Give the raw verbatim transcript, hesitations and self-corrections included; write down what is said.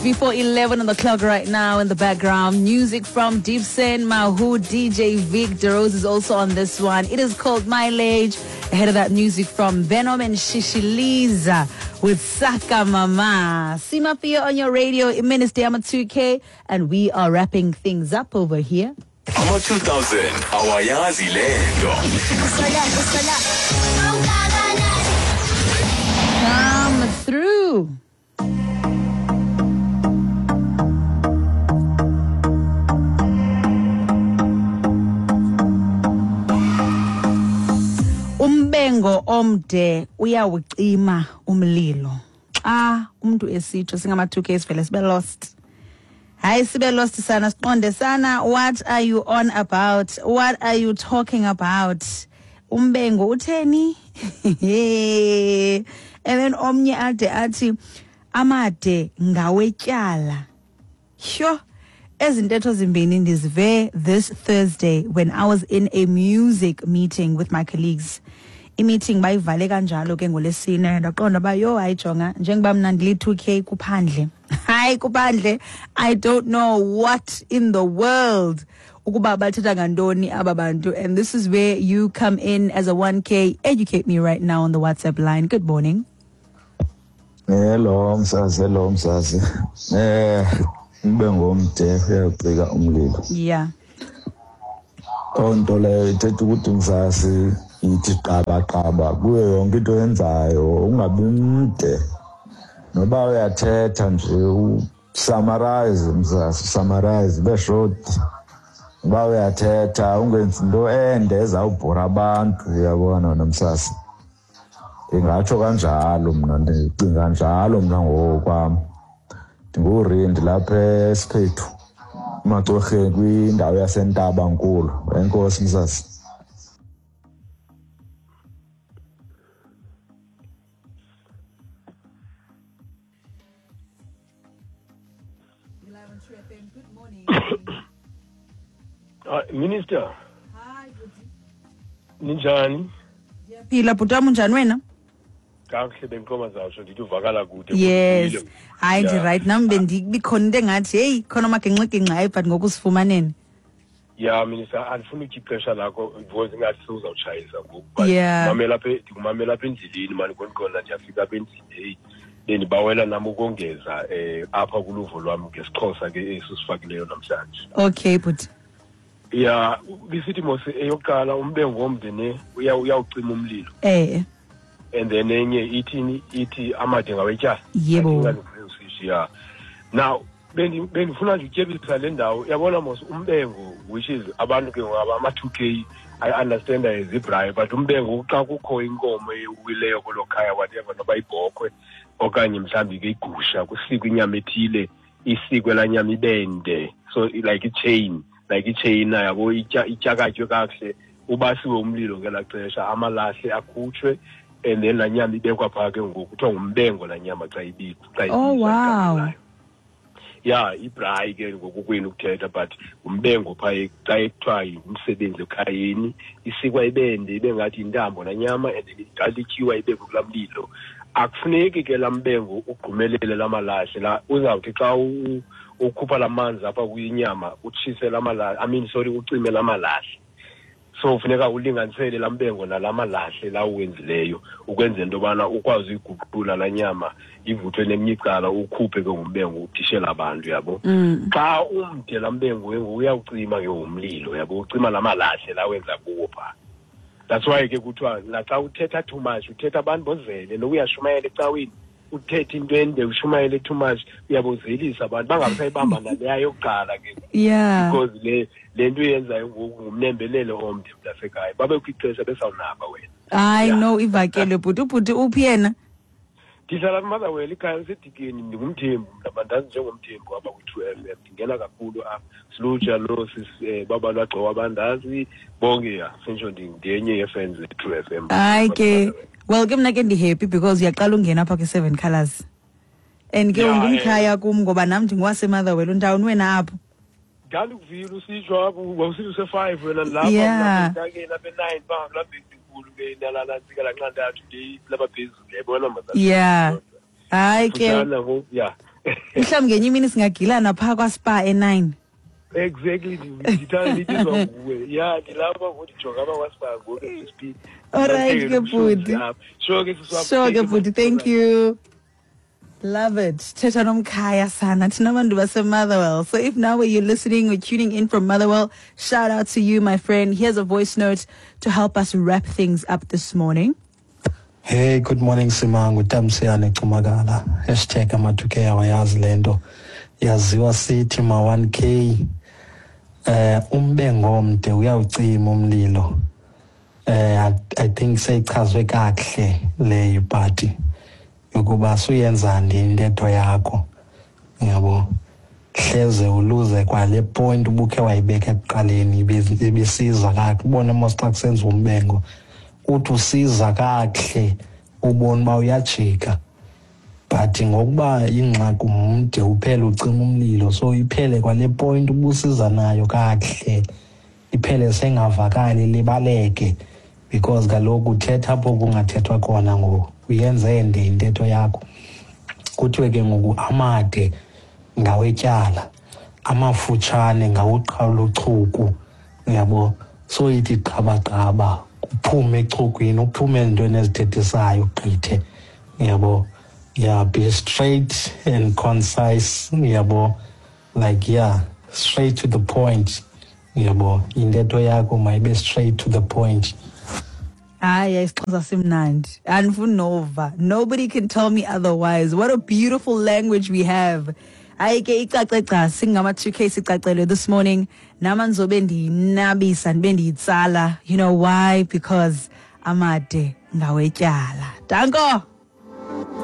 minutes before eleven on the clock right now. In the background, music from Deep Sen, Mahu, D J Vic. DeRose is also on this one. It is called Mileage. Ahead of that, music from Venom and Shishiliza with Saka Mama. Simafia on your radio, Minister Ama two K, and we are wrapping things up over here. Ama two thousand, awayazi lento. Come through. Umbengo omde uyawucima umlilo. Xa umuntu esitsho singama two K sivele sibe lost. Hayi sibe lost sana, siqonde sana. What are you on about? What are you talking about? Umbengo utheni? And then omnye ade athi amade ngawetyala. Sure. Ezintetho zimbini ndizive this Thursday when I was in a music meeting with my colleagues. I-meeting bayivale kanjalo ke ngolesine, ndaqonda ba yo hayi jonga njengoba mna ndili two K kuphandle. Hayi kuphandle, I don't know what in the world ukuba bathetha ngantoni aba bantu, and this is where you come in as a one K. Educate me right now on the WhatsApp line. Good morning. Hello msazi, hello msazi. Eh umbengo omde uyawucika umlilo. Yeah. Onto leyo ithetha ukuthi msazi ithi qaba qaba kuyo yonke into oyenzayo, ungabi mde. Noba uyathetha nje usummarize msazi, summarize be short. Uba uyathetha ungenzi into ende ezawubhora abantu, uyabona wena msazi. Ndingatsho kanjalo mna, ndicinga njalo mna ngokwam. Ndingurindi lapha eSiphethu emaCorheni kwindawo yaseNtabankulu. Enkosi msazi. Good morning. Uh, Minister. Hi, bhuti. Ninjani? Ndiyaphila bhuti wam, unjani wena? Kakuhle, bendiqoma zawutsho ndithi uvakala kude. Yes. Hayi ndi right nam bendibikhona into engathi heyi khona amagingxigingxi, hayi but ngoku sifumaneni. Yeah, Minister, andifuni utya ixesha lakho because ingathi sewuzawutshayisa ngoku. But Yeah. ndimamela apha, ndikumamela apha endleleni mani, khona ndiyafika apha endlini. Heyi, bendibawela nam ukongeza eh apha kuluvo lwam ngesiXhosa ke esi sifakileyo namhlanje. Okay bhuti. Yeah, bisithi mos eyokuqala umbengo omde ne uya uyawucima umlilo. Eh. And then enye ithini, ithi amade ngawetyala. Yebo. Yeah. Now bendifuna nje utyebisa le ndawo. Uyabona mos umbengo, which is abantu ke ngaba ama two K, I understand as ibraai, but umbengo xa kukho inkomo ewileyo kulo khaya whatever, noba ibhokhwe okanye mhlawumbi ke igusha, kusikwe inyama ethile, isikwe laa nyama ibende, so like i-chain, like i-chain yabo, ityakatywe kakuhle, ubasiwe umlilo ngelaa xesha, amalahle akhutshwe, and then laa nyama ibekwa phaa ke ngoku, kuthiwa ngumbengo laa nyama xa ibizwa. Oh wow. Yeah, ibraai ke ngoku kwenu ukuthetha, but umbengo phaa xa kuthiwa ngumsebenzi ekhayeni, isikwa ibende ibe ngathi yintambo laa nyama, and then igalityiwa ibekwe kulaa mlilo. Akufuneki ke laa mbengo ugqumelele laa malahle la, uzawuthi xa ukhupha laa manzi apha kwinyama utshise laa malahle, I mean sorry, ucime laa malahle. So funeka ulinganisele laa mbengo nalaa malahle la uwenzileyo ukwenzela into yobana ukwazi uyiguqula laa nyama ivuthwe neminye icala, ukhuphe ke ngumbengo udishele abantu, yabo. Xa umde laa mbengo ke ngoku uyawucima ke ngomlilo, yabo, ucima laa malahle la wenza kuwo phaa. That's why ke kuthiwa naxa uthetha too much, uthetha abantu bozele, noba uyashumayela ecaweni, uthethe into ende ushumayele too much, uyabozelisa abantu bangasayibamba naleya yokuqala ke. Yeah. Because le le nto uyenzayo ngoku ngumnembelelo omde mntasekhaya, babekho ixesha besawunaba wena. Hayi no, ivakele bhuti. Ubhuti uphi yena? Ndihlala kuMotherwell, ikhaya liseDikeni. Ndingumthembu mna, bandazi njengomthembu apha kwi-True F M. Ndingena kakhulu apha silutsha lo baba lwagcowa bandazi bonke, ya sentsho ndingenye yee-fans ze-True F M. Hayi ke, well ke mna ke ndi-happy because uyaqala ungena apha kwi-Seven Colours and ke ungumkhaya kum ngoba nam ndingowaseMotherwell. Untawuni wena apho? Ndandikuvile usitsho apho, wawusithi use-five wena lapha, lapha e-nine phaa kulaa bhedi inkulu ke nalantsika lanxantathu lapha phezulu, yayibona mazana. Yeah. Hayi ke. Yeah. Mhlawumbi ngenye imini singagilana phaa kwaSpar e-nine. Exactly, ndithanda ndibizwa nguwe. Ya, ndilapha ngoku, ndijonga apha kwaSpar ngoku as we speak. Alright ke bhuti. Sure ke sisi wam. Sure ke bhuti, thank you. Love it. Thetha nomkhaya sana, thina bantu base-Motherwell. So if now you're listening or tuning in from Motherwell, shout out to you, my friend. Here's a voice note to help us wrap things up this morning. Hey, good morning Simangu, Tamsiyane Cumakala. Hashtag ama-two K awayazi lento. Yaziwa sithi ma one K. Eh umbengo omde uyawucima umlilo. Eh I, I think seyichazwe kakuhle le party yokuba suyenzani intetho yakho. Yabo. Hleze uluze kwale point ubukhe wayibeka ekuqaleni, ibisiza kakuhle. Ubone mos xa kusenziwa umbengo, uthi usiza kakuhle, ubone uba uyajika, but ngokuba ingxaki umde uphele ucima umlilo, so iphele kwale point ubusiza nayo kakuhle, iphele sengavakali, libaleke, because kaloku uthetha apho kungathethwa khona ngoku, uyenze ende intetho yakho. Kuthiwe ke ngoku amade ngawetyala, amafutshane ngawuqhawula uchuku, uyabo. So ithi qabaqaba, uphume echukwini, uphume ezintweni ezithethisayo, ugqithe, uyabo. Yeah, be straight and concise, uyabo, like, yeah, straight to the point, uyabo. Intetho yakho mayibe straight to the point. Hayi, isiXhosa simnandi. Andifuni nova. Nobody can tell me otherwise. What a beautiful language we have. Hayi ke, icace gca, singama two K sicacelwe this morning. Nama ndizobe ndiyinabisa, ndibe ndiyitsala. You know why? Because amade ngawetyala. Danko.